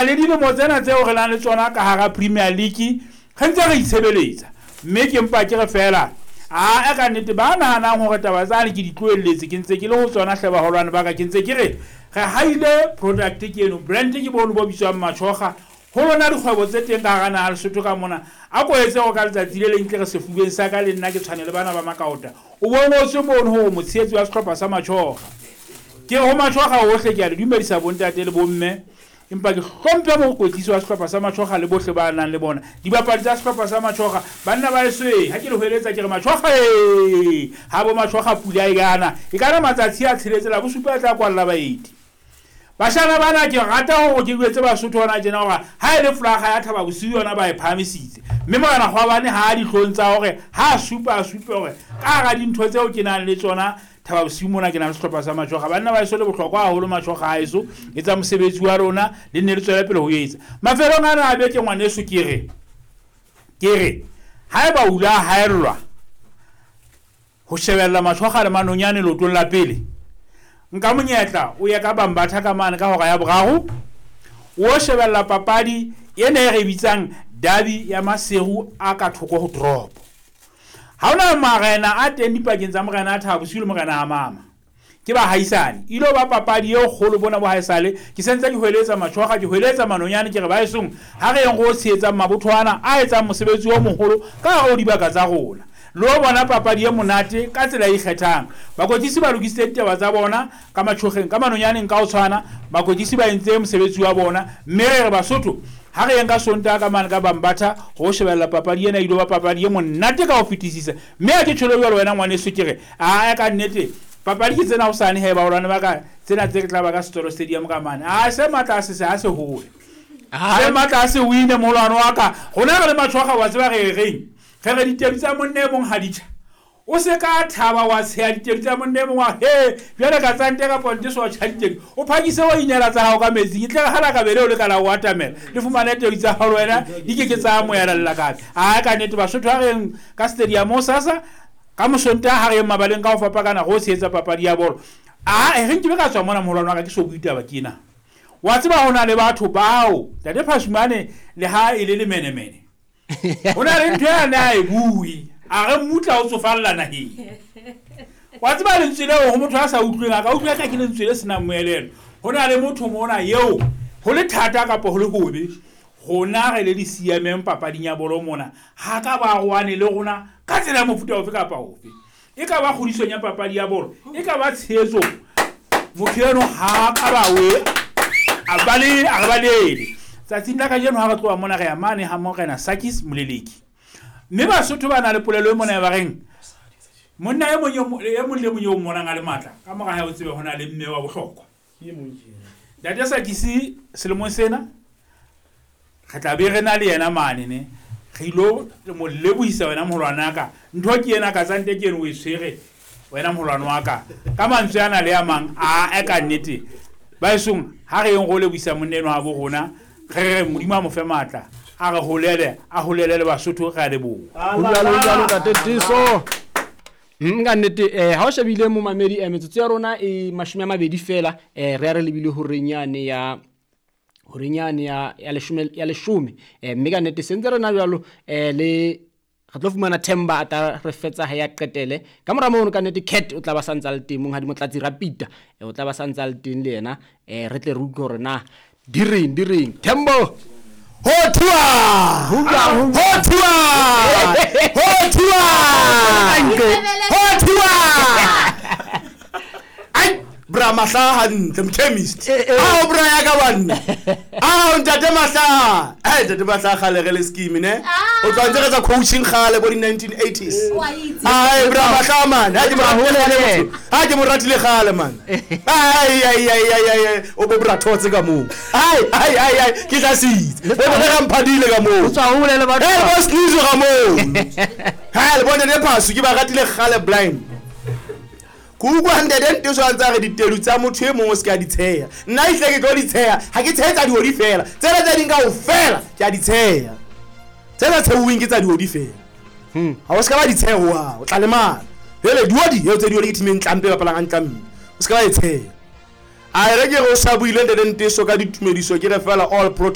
Le dilemo tsena tseo re nang le tsona ka hara Premier League re ntse re itshebeletsa, mme ke mpa ke re feela aa ka nnete ba nahanang hore taba tsane ke di tlohelletse ke ntse ke le ho tsona hle baholwane ba ka ke ntse ke re re haile product ke eno brand ke bono bo bitswang Matjhoga ho lona dikgwebo tse teng ka hara naha Lesotho ka mona a ko etse hore ka letsatsi le leng tle re sefubeng sa ka le nna ke tshwane le bana ba Makaota o bo ngotswe mono hore motshehetsi wa sehlopha sa Matjhoga ke re ho Matjhoga ohle ke a le dumedisa bontate le bomme Empa ke hlomphe mokwetlisi wa sehlopha sa Matjhoga le bohle ba nang le bona. Dibapadi tsa sehlopha sa Matjhoga, banna ba heso ee, ha ke le hweletsa ke re Matjhoga ee! Ha bo Matjhoga pula e ka na, e ka na matsatsi a tsheletse, la bosupa e tla kwalla baeti. Bashana bana ke rata hore ke jwetse Basotho hona tjena hore ha e le folaga ya Thaba Bosiu yona ba e phahamisitse. Mme Morena Kgwabane ha a dihlong tsa hore ha a supa a supe hore ka hara dintho tseo ke nang le tsona Thaba bosiu mona ke na le sehlopha sa Matjhoga. Banna ba heso le bohlokwa haholo Matjhoga a heso. Etsa mosebetsi wa lona le nne le tswele pele ho etsa. Mafelong ana a beke ngwaneso ke re ke re haeba o ile a haellwa ho shebella Matjhoga le Manonyane leotong la pele, nka monyetla o ye ka Bambatha ka mane ka hora ya boraro o shebella papadi ena e re bitsang derby ya Maseru a ka thoko ho toropo. Ha hona marena a teng dipakeng tsa morena a Thaba Bosiu le morena a Mama. Ke bahaisane. E ilo ba papadi e kgolo bona bo haesale. Ke sentse ke hweletsa Matjhoga, ke hweletsa Manonyane ke re baesong ha re yeng re o tshehetsang mabotho ana a etsang mosebetsi o moholo ka hare ho dibaka tsa rona. Le o bona papadi e monate ka tsela e ikgethang. Bakwetlisi ba lokisitse ditaba tsa bona ka Matjhogeng, ka Manonyaneng ka ho tshwana. Bakwetlisi ba entse mosebetsi wa bona mme re re Basotho Ha re yeng ka Sontaha ka mane ka Bambatha ho shebella papadi ena, e ilo ba papadi e monate ka ho fetisisa. Mme ha ke tjholo jwalo wena ngwaneso ke re, aa ka nnete papadi ke tsena hosane he baholwane ba ka, tsena tse re tla ba ka Setswalo Stadium ka mane. Aa se matla a se se ha se hole. Se matla a se wine moholwane wa ka. Rona re le Matjhwakga wa tseba re reng? Re re ditedu tsa monna e mong ha di tjha. O se ka thaba wa tsheha ditedu tsa monna e mong wa he jwale ka tsante ka ponte so tjha ditedu. O phakise wa inela tsa hao ka metsing. E tle re ha lakabe leo le ka la o atamela le fumane tedu tsa hao le wena di ke ke tsa amohela lelakabe. Aa ka nnete Basotho ha re yeng ka stadium hosasa ka Mosontaha ha re yeng mabaleng ka ho fapakana re o tshehetsa papadi ya bolo. Aa e re nkebe ka tswa mona moholwane wa ka ke so bue taba ke ena. Wa tseba ho na le batho bao Ntate Phasumane le ha e le lemenemene. Ho na le ntho ya ne a e bue a re mmutla o tsofalla naheng. Wa tseba lentswe leo ho motho a sa utlweng a ka utlwa ka ke lentswe le senang moelelo. Ho na le motho mona eo ho le thata kapa ho le hobe rona re le di siameng papading ya bolo mona ha ka ba roane le rona ka tsela ya mofuta ofe kapa ofe. E ka ba kgodisong ya papadi ya bolo, e ka ba tshehetsong. Motho eno ha ka ba we a bale a re balele. Tsatsing la kajeno ha re tloha mona re ya mane ha Morena Sakis Moleleki. Mme Basotho ba na le polelo e mona e ba reng monna e mong e mong le mong eo mmonang a le matla ka mora hae o tsebe ho na le mme wa bohlokwa. Ntate Sakisi selemong sena re tla be re na le yena mane ne re ilo mo lebohisa wena moholwane wa ka ntho ke ena ka tsante ke eno o e tshwere wena moholwane wa ka ka mantswe ana le a mang a e ka nnete baesong ha re yeng go lebohisa monna eno wa bo rona re re Modimo a mo fe matla a re holele a holele le Basotho re a leboha. Ho jwalo, ho jwalo, Ntate Tiso. Ka nnete ha o shebile momamedi metsotso ya rona e 20 fela re ya re lebile horeng yane ya horeng yane ya ya leshome ya leshome mme ka nnete sentse re na jwalo le re tlo fumana Themba a tla re fetsa ha ya qetele ka mora mono ka nnete Cat o tla ba santsa le teng monghadi Motlatsi Rapita o tla ba santsa le teng le yena re tle re utlwe hore na di reng di reng Thembo Ho thiwa! Ho thiwa! Ho thiwa! Ho thiwa! Ai, bra Mahla hantle, mchemist. Ao bra ya ka banna. Ao ntate Mahla. Ai ntate Mahla kgale re le scheme ne. O tla ntse re tsa coaching kgale bo di 1980s. Ai bra Mahla man, ha ke mo ratile motho. Ha ke mo ratile kgale man. Ai ai ai ai ai o bo bra thotse ka moo. Ai ai ai ai ke tla sitse. Le bona ga mphadile ka moo. O tswa hole le batho. Hey bo Snizo ka moo. Ha le bone le phaso ke ba ratile kgale blind. Ke utlwa ntate Nteso a ntse a re ditedu tsa motho e mong o se ke a di tsheha. Nna ehlile ke tlo di tsheha, ha ke tshehe tsa dihodi feela, tsena tse ding kaofela ke a di tsheha. Tse sa tshehuweng ke tsa dihodi feela. Ha o se ka ba di tsheha hohang, o tla lemala. Jwale dihodi, eo tse dihodi ke team e ntlampe e bapalang hantle mme. O se ke ba e tsheha. A e re ke re o sa buile ntate Nteso ka ditumediso ke re feela all protocol.